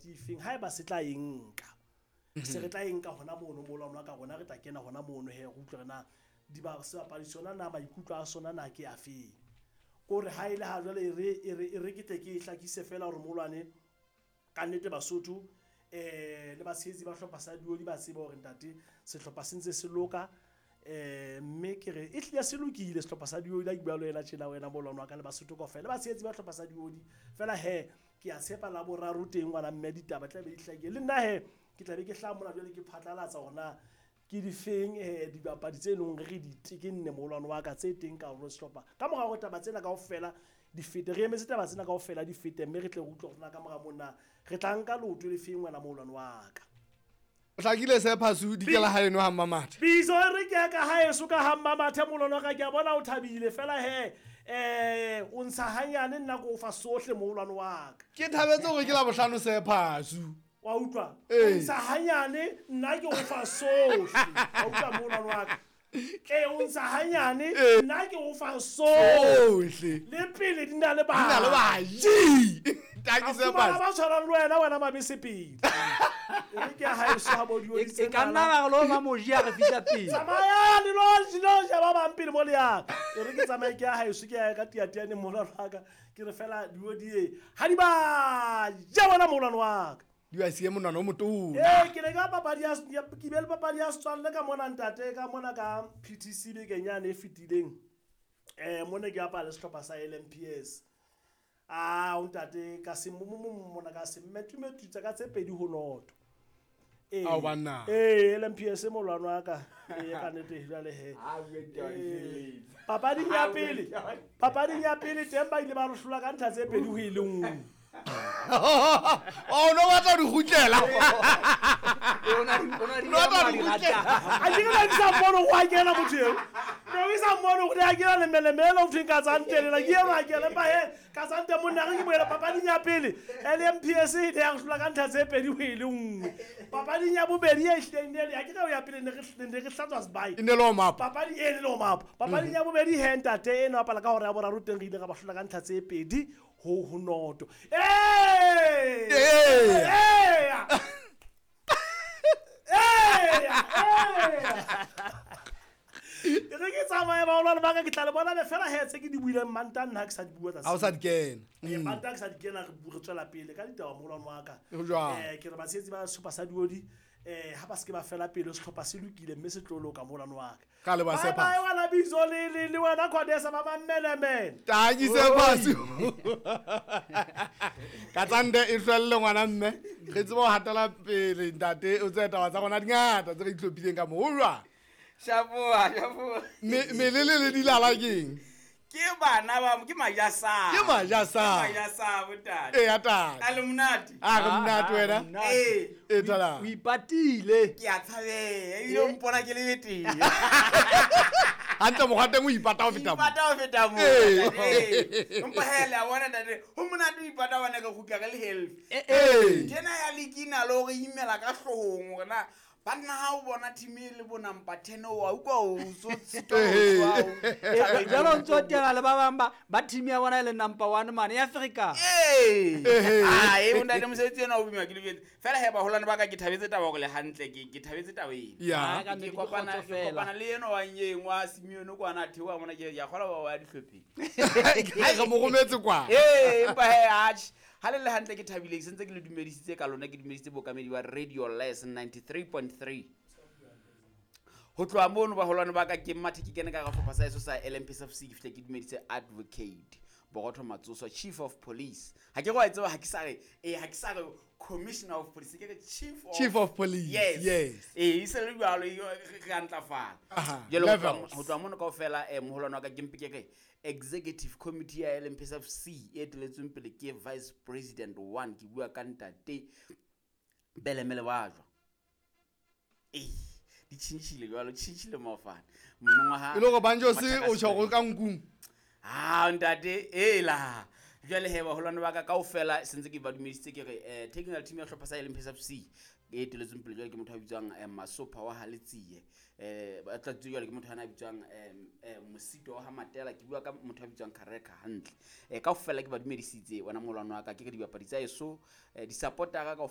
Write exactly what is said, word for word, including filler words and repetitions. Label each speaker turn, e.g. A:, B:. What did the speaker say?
A: ke efeng ha eba se tla e nka. Se re tla e nka hona mono moholwane wa ka rona re tla kena hona mono he re utlwe hore na diba sebapadi sona na maikutlo a sona na ke afeng. Kore ha ile ha jwale e re e re e re ke tle ke e hlakise fela hore moholwane ka nnete Basotho eh le batshehetsi ba hlopha sa Dioli ba tseba hore ntate sehlopha se ntse se loka eh mme ke re e hlile se lokile sehlopha sa Dioli ha ke bua le wena tjena wena moholwane wa ka le Basotho kaofela le batshehetsi ba hlopha sa Dioli fela he ke a tshepa la boraro teng ngwana mme ditaba tla be di hlakile le nna he ke tla be ke hlaha mona jwale ke phatlalatsa hore na ke difeng eh dibapadi tse leng hore re di tekenne moholwane wa ka tse teng ka hore sehlopha ka mora hore taba tsena kaofela di fete re emetse taba tsena kaofela di fete mme re tle re utlwe hore na ka mora mona re tla nka leoto le feng wena moholwane wa ka.
B: O hlakile se phasu dikela ha eno ha Mmamathe.
A: Bizo e re ke ya ka haeso ka ha Mmamathe moholwane wa ka ke a bona o thabile fela he eh o ntsha hanyane nna ko o fa sohle moholwane wa ka.
B: Ke thabetse hore ke la bohlano se phasu.
A: Wa utlwa?
B: Ee.
A: O ntsha hanyane nna ke o fa sohle. Wa utlwa moholwane wa ka? Ee, o ntsha hanyane
B: Ee.
A: nna ke o fa sohle.
B: Sohle.
A: Le pele di na le
B: Di na le
A: baji.
B: baji. Tanki
A: A
B: se
A: fumana
B: phasu.
A: ba tshwanang le wena, wena mabese pele. E re ke ya haeso ha bo Dioli
C: E
A: tse
C: ka nna
A: nala.
C: ba re lo ba moji a re fihla pele.
A: Tsamaya le lo le lo ja ba bang pele mo le yang. E re ke tsamaye ke ya haeso ke ya ka tiatiane moholwane wa ka. Ke re fela Dioli e ha di ba ja bona moholwane wa ka.
B: Di ba siye monwana o motona.
A: Ee, ke ne ka papadi ya, ya, ke be le papadi ya setswalle ka mona ntate, ka mona ka P T C bekeng yane e fetileng. Eh, mona ke bapala le sehlopha sa L M P S. Ah, o ntate, ka se mo, mo, mo, mona ka se mmetumetutsa ka tse pedi ho noto. Ee.
B: Ao banna.
A: Ee, L M P S moholwane wa ka. Ee, ka nnete jwale he.
D: Ha bue taba,
A: Ee.
D: di feletse.
A: Papading ya
D: Ha bue
A: pele.
D: taba.
A: Papading ya pele teng ba ile ba re hlola ka ntlha tse pedi ho e le nngwe.
B: Oh, no batla ho di kgutlela.
C: O na di, o na di
B: No batla ho di
C: ya
B: kgutlela.
C: rata.
A: A ke re ke sa mmone ho a kena motho eo. No ke sa mmone hore a kena lemelemele ho thweng ka tsantele la ke eno a kena empa he ka tsante monna re ke boela papading ya pele. L M P S e ne ya re hlola ka ntlha tse pedi ho e le nngwe. Papading ya bobedi e hlileng ne le ya ke re ya pele ne re ne re hlatswa sebae.
B: E ne le warm up.
A: Papadi e ne le warm up. Papading ya bobedi he ntate e no bapala ka hora ya boraro teng re ile ra ba hlola ka ntlha tse pedi ho ho noto. Ee!
B: Ee!
A: Ee! Ee! E re ke tsamaye baholwane ba ka ke tla le bona be fela he tse ke di buileng Mantaha nna ha ke sa di bua
B: Ha o sa di kena.
A: Eh,
B: Mm.
A: Mantaha ke sa di kena re bu-, re tswela pele ka ditaba moholwane wa ka.
B: Ho jwang?
A: Eh, ke re batshehetsi ba sehlopha sa Dioli, eh, ha ba se ke ba fela pele sehlopha se lokile mme se tlo loka moholwane wa ka.
B: Ka le ba
A: Bye
B: sepa.
A: bye, wena Bizo le, le, le wena Khodesa ba mammelemele.
B: Tanki se phasu. Ka tsande e hlwelle ngwana mme. Re tsebe ho hatela pele ntate o tsebe taba tsa rona di ngata tse re itlhophileng ka moo. Ho jwang?
D: Shapoa, shapoa.
B: Me, melele le dilala keng?
D: Ke bana ba, ke majasa.
B: Ke majasa.
D: Ke majasa, bontate.
B: Ee, ya tate.
D: A le monate?
B: A re monate
C: Ah,
B: wena.
C: monate.
D: Ee.
B: Ee, tala.
C: O ipatile.
D: Ke a tshabeha, ebile o mpona ke le betere.
B: Hantle mokgwa teng o ipata ho feta moo.
D: Ipata ho feta moo,
B: Ee.
D: ntate. Ee. Empa he, le a bona, ntate, ho monate ho ipata hobane re kgutla re le healthy.
C: Eh,
B: Ee.
D: Ntho ena ya league e na le hore imela ka hloohong hore na banna ha o bona team e le bo number ten o wa utlwa o so sitwa ho tswa, o
C: Eh, jwale o ntso teana le ba bang ba, ba team ya bona e le number one mane ya Afrika.
D: Ee.
B: Ehe.
D: Ah, eh, ntate, mosebetsi ena o boima ke loketse. Fela he, baholwane ba ka ke thabetse taba hore le hantle, ke, ke thabetse taba ena.
B: Ya.
C: Ah, ka
D: Ke
C: nnete ke
D: kopana,
C: kgotso
D: ke
C: fela.
D: kopana le enwa wa Nyeng, wa Simeone kwana a theoha mona, ke ya kgolwa ba wa dihlopheng.
B: Re mo rometse kwa.
D: Ee, empa he, atjhe. Ha le le hantle ke thabile, ke sentse ke le dumedisitse ka lona, ke dumedisitse bookamedi ba Radio Les ninety-three point three. Ho tloha mono baholwane ba ka ke mathe ke kene ka hara sehlopha sa heso sa L M P S F C, ke fihle ke dumedise Advocate Borotho Matsoso, Chief of Police. Ha ke re wa e tseba, ha ke sa re, eh, ha ke sa re Commissioner of Police, ke re Chief of
B: Chief of Police,
D: Yes.
B: yes.
D: Eh, e se le jwalo, e, re, re a ntlafala.
B: Aha,
D: Jwale ho tloha
B: levels.
D: ho tloha mono kaofela, eh, moholwane wa ka ke mpe ke re Executive Committee ya L M P S F C e eteletsweng pele ke Vice President one, ke bua ka ntate Belemele wa jwa. Eh, di tjhentjhile jwalo, tjhentjhile maofane. Monongwaha
B: E le hore Banjo se
D: Mathaka
B: o tjho
D: Sibele.
B: ka nkung.
D: Ah, ntate, ela. Jwale he, baholwane ba ka kaofela sentse ke ba dumedisitse ke re, eh, technical team ya hlopha sa L M P S F C e eteletsweng pele jwale ke motho a bitswang, eh, Masopha wa Haletsie. Eh, ba tlatsitswe jwale ke motho ana a bitswang, eh, eh, Mosito wa ha Matela, ke bua ka motho a bitswang Kareka hantle. Eh, kaofela ke ba dumedisitse wena moholwane wa ka, ke re dibapadi tsa heso, eh, di-supportera kaofela.